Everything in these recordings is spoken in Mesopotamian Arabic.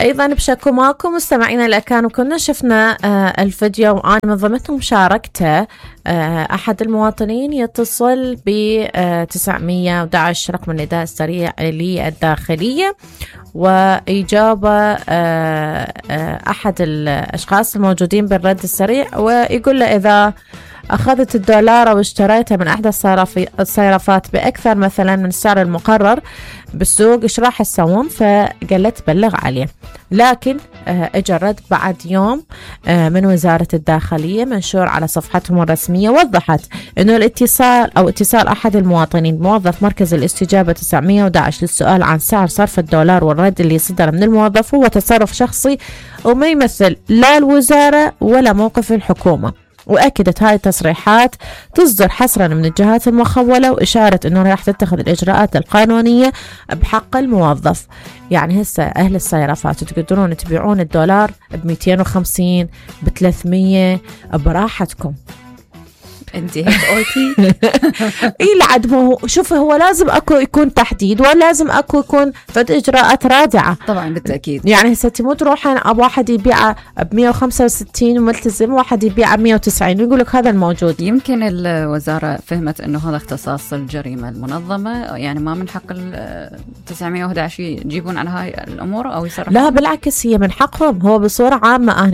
أيضا بشكو ماكو مستمعينا اللي كانوا كنا شفنا الفيديو وأنا من ضمنهم شاركته. أحد المواطنين يتصل ب 911 رقم النداء السريع للداخلية، وإجابة أحد الأشخاص الموجودين بالرد السريع، ويقول له إذا أخذت الدولار أو اشتريتها من أحد الصيرفات بأكثر مثلا من السعر المقرر بالسوق إيش راح تسوون؟ فقال له تبلغ عليه. لكن اجى الرد بعد يوم من وزارة الداخلية منشور على صفحتهم الرسمية، وضحت أنه الاتصال أو اتصال أحد المواطنين موظف مركز الاستجابة 911 للسؤال عن سعر صرف الدولار والرد اللي صدر من الموظف هو تصرف شخصي وما يمثل لا الوزارة ولا موقف الحكومة. وأكدت هاي التصريحات تصدر حصرا من الجهات المخولة، وإشارة أنه راح تتخذ الإجراءات القانونية بحق الموظف. يعني هسه أهل الصيرفات تقدرون تبيعون الدولار ب250 ب300 براحتكم. انت هيك قلتي. اي لعد مو شوف، هو لازم اكو يكون تحديد، ولازم اكو يكون فد اجراءات رادعه. طبعا بالتاكيد. يعني هسه مو تروح اب واحد يبيعه ب 165 وملتزم، واحد يبيعه ب 190 ويقول لك هذا الموجود. يمكن الوزاره فهمت انه هذا اختصاص الجريمه المنظمه، يعني ما من حق ال 911 يجيبون عن هاي الامور او يصرفون. لا بالعكس، هي من حقهم. هو بصوره عامه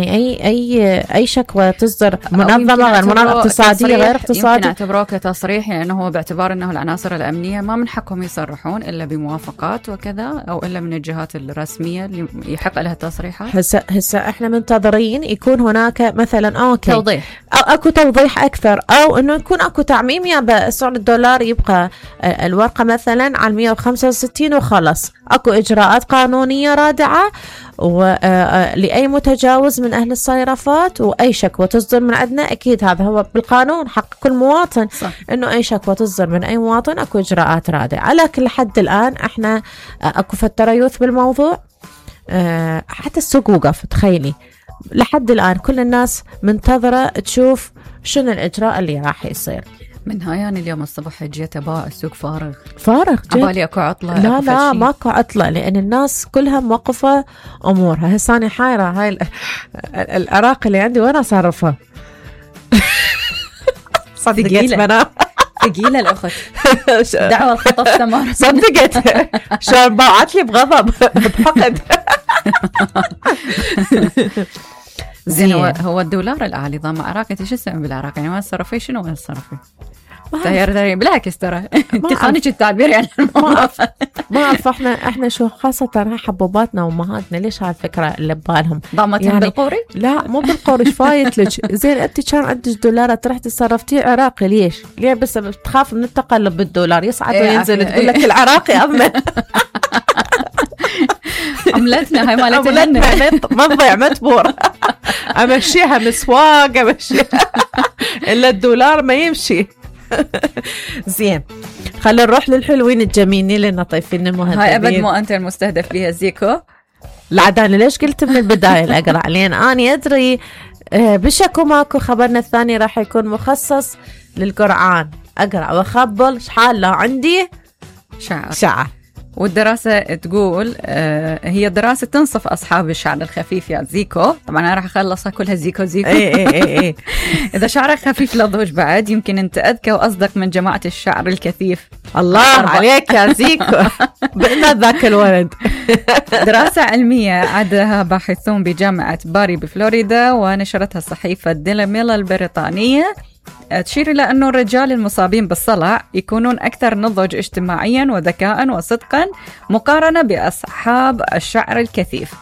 اي شكوى تصدر منظمه غير منظمه اقتصاديه غير اقتصادي يمكن اعتبروه كتصريح، لانه هو باعتبار انه العناصر الامنيه ما من حقهم يصرحون الا بموافقات وكذا، او الا من الجهات الرسميه اللي يحق لها التصريحات. هسه احنا منتظرين يكون هناك مثلا اوكي توضيح، أو اكو توضيح اكثر، او انه يكون اكو تعميم يا سعر الدولار يبقى الورقه مثلا على 165 وخلص. اكو اجراءات قانونيه رادعه ولأي متجاوز من أهل الصيرفات، وأي شكوى تصدر من عندنا أكيد هذا هو بالقانون حق كل مواطن. صح. إنه أي شكوى تصدر من أي مواطن أكو إجراءات رادعة. لكن لحد الآن إحنا أكو فتريوث بالموضوع، حتى السوق وقف. تخيلي لحد الآن كل الناس منتظرة تشوف شنو الإجراء اللي راح يصير. من هاي يعني اليوم الصبح جيت ابا السوق فارغ عبالي اكو عطله. لا ماكو عطله، لان الناس كلها موقفه امورها. هسه انا حايره هاي العراق اللي عندي وين اصرفها؟ صدقت منام ثقيله الاخت. دعوه الخطف ثمار. صدقت شلون باعت لي بغضب بحقد. زين هو الدولار الاعلى ضام عراق. انت شو اسمه بالعراق يعني؟ وين تصرفي؟ شنو وين تصرفي؟ تغير بالعكس ترى انت خانج التعبير يعني. ما اعرف احنا شو خاصه حبوباتنا وامهاتنا ليش هالفكره اللي ببالهم ضامتهم يعني بالقوري؟ لا مو بالقوري. ايش فايت لك؟ زين انت كان عندك دولارات رحتي صرفتيه عراقي ليش؟ ليه بس تخاف من التقلب بالدولار يصعد وينزل تقول لك العراقي اضمن. عملتنا هاي مالتنا ما تضيع متبور. امشيها مسواق امشيها الا الدولار ما يمشي. زين خلينا نروح للحلوين الجميلين لنا طيفين المهذبين. هاي ابد مو انت المستهدف بها زيكو. العداني ليش قلت من البدايه الاقرا لين اني ادري بشكو ماكو. خبرنا الثاني راح يكون مخصص للقرآن. اقرا واخبل شحال لا عندي شعر. والدراسة تقول هي دراسة تنصف أصحاب الشعر الخفيف يا زيكو. طبعا أنا راح أخلصها كلها زيكو. اي إذا شعرك خفيف لضوج بعد يمكن أنت أذكى وأصدق من جماعة الشعر الكثيف. الله عليك يا زيكو. بقنا ذاك الولد. دراسة علمية عدها باحثون بجامعة باري بفلوريدا ونشرتها صحيفة ديلي ميل البريطانية، تشير إلى أنه الرجال المصابين بالصلع يكونون أكثر نضج اجتماعيا وذكاء وصدقا مقارنة بأصحاب الشعر الكثيف.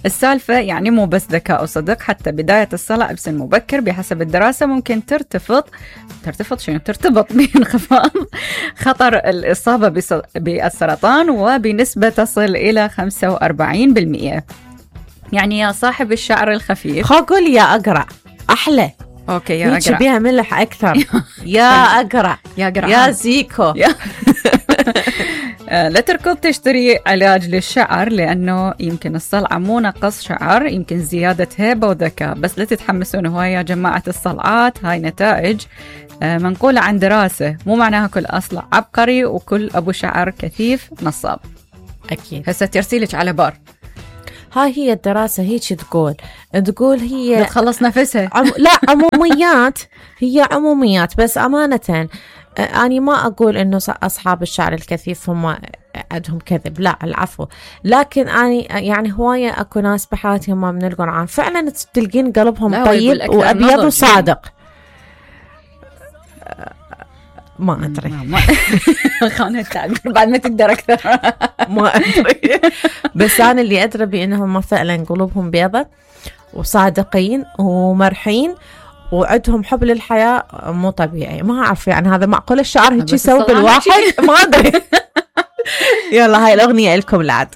السالفة يعني مو بس ذكاء وصدق، حتى بداية الصلع بسن مبكر بحسب الدراسة ممكن ترتبط بانخفاض خطر الإصابة بالسرطان وبنسبة تصل إلى 45%. يعني يا صاحب الشعر الخفيف قول يا أقرأ أحلى. اوكي يا اقرا بيها ملح اكثر. يا اقرا يا زيكو. لا تركض تشتري علاج للشعر، لانه يمكن الصلعه مو نقص شعر، يمكن زياده هيبه وذكاء. بس لا تتحمسون هواي يا جماعه الصلعات. هاي نتائج منقوله عن دراسه، مو معناها كل اصلع عبقري وكل ابو شعر كثيف نصاب. اكيد. هسه ترسيلك على بار. هاي هي الدراسة هيك تقول هي تخلص نفسها. لا عموميات، هي عموميات، بس أمانة أنا ما أقول إنه أصحاب الشعر الكثيف هم عندهم كذب، لا العفو، لكن أنا يعني هواية أكو ناس بحياتي هم من القرآن فعلا تلقين قلبهم طيب وأبيض وصادق. ما أدري خانة التعبير بعد ما تقدر أكثر. ما أدري، بس أنا اللي أدري بأنهم فعلا قلوبهم بيضة وصادقين ومرحين وعندهم حب للحياة مو طبيعي. ما أعرف يعني هذا معقول الشعر هيك يسوي بالواحد؟ ما أدري. يلا هاي الأغنية لكم العاد.